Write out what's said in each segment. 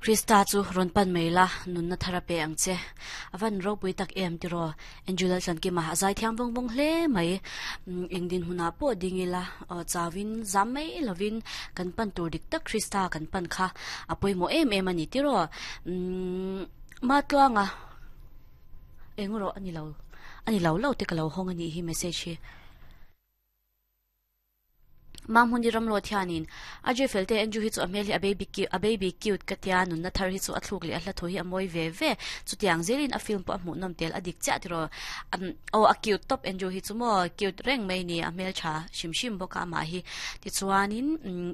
Krista chu rawn pan mai la, nunna thar a pe ang che. A van ropui tak em tiraw? Andrew Laltlankima a zaithiam vawng vawng hle mai. Eng dinhmunah pawh ding ila, chauin zam mai lovin kan pan tur dik tak Krista kan pan kha a pawimawh em em a ni tiraw? Matluanga eng rawh a ni lo, a ni lo lo te ka lo hawng a nih hi message hi. Mahmuni Ramlawt hianin a Jay Felte Andrew hi chu a hmel hi a baby cute a baby cute ka tia nunna thar hi chu a thluk leh a hla thu hi a mawi ve ve chutiang zelin a film pawh a hmuhnawm tel a dik chiah tiraw aw a cute tawp Andrew hi chu maw cute reng mai ni a hmeltha hrim hrim bawk a amah hi tichuanin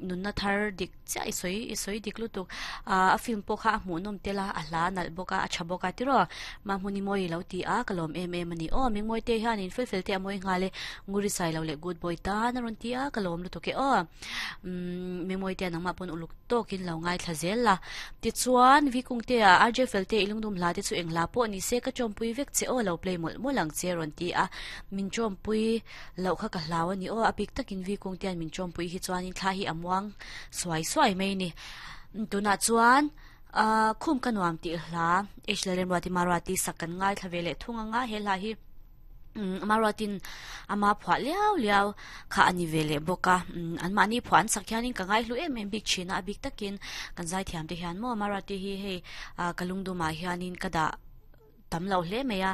nunna thar dik Chiah i sawi i sawi dik lutuk. Ahh a film pawh kha a hmuhnawm tel a, a hla a nalh bawk a, a tha bawk a tiraw? Mahmuni mawi i lo ti a, ka lawm em em a ni. Aw Mingmawi te hianin fel fel te a mawi nghal e, Nguri sai lo leh Good boy tan a rawn ti a, ka lawm lutuk e aw. Umm Mingmawi te nangmah pawn uluk tawkin lo ngaithla zel la. Tichuan Vikung te ah RJ fel te i lungdum hla te chu eng hla pawh ni se ka tawmpui vek che aw lo play mawlh mawlh ang che a rawn ti a, min tawmpui Loh kha ka hlau a ni aw, a bik takin vi kung te hian min tawmpui hi chuanin thla hi a muang suai suai mai a ni. Tunah chuan ahh khum ka nuam tih hla H Lalremruati Maruati sak kan ngaithla ve leh thung ang a, he hla hi umm Maruatin ama phuah liau liau kha a ni ve leh bawk a, umm anmahni phuah an sak hianin ka ngaihlu em em bik thin a, a bik takin kan zaithiam te hian maw Maruati hi hei ah ka lungdumah hianin ka dah tam lo hle mai a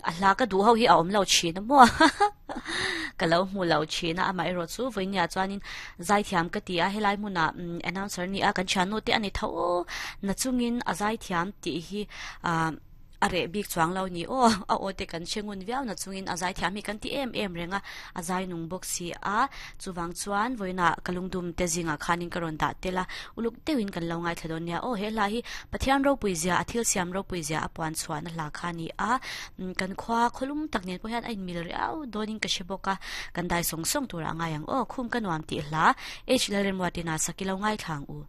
a hla ka duh ho hi a awm lo thin a maw ka lo hmu lo thin a amaherawh chu vawinia chuanin zaithiam ka ti a helai hmunah announcer ni a kan thiannu te a ni tho na chungin a zaithiam tih hi ah a reh bik chuang lo ni aw a aw te kan hre ngun viau na chungin a zaithiam hi kan ti em em reng a a zai nung bawk si a chuvang chuan vawiinah ka lungdum te zingah khanin ka rawn dah tel a Uluk deuhin kan lo ngaithla dawn nia. Aw, he hla hi Pathian ropui zia, a thil siam ropui zia a puan chhuahna hla kha a ni a. Kan khua khawlum tak nen pawh hian a inmil riau dawnin ka hre bawk a. Kan dai sawng sawng turah a ngai ang. Aw, khum ka nuam tih hla H Lalremruatina sak i lo ngaithla ang u.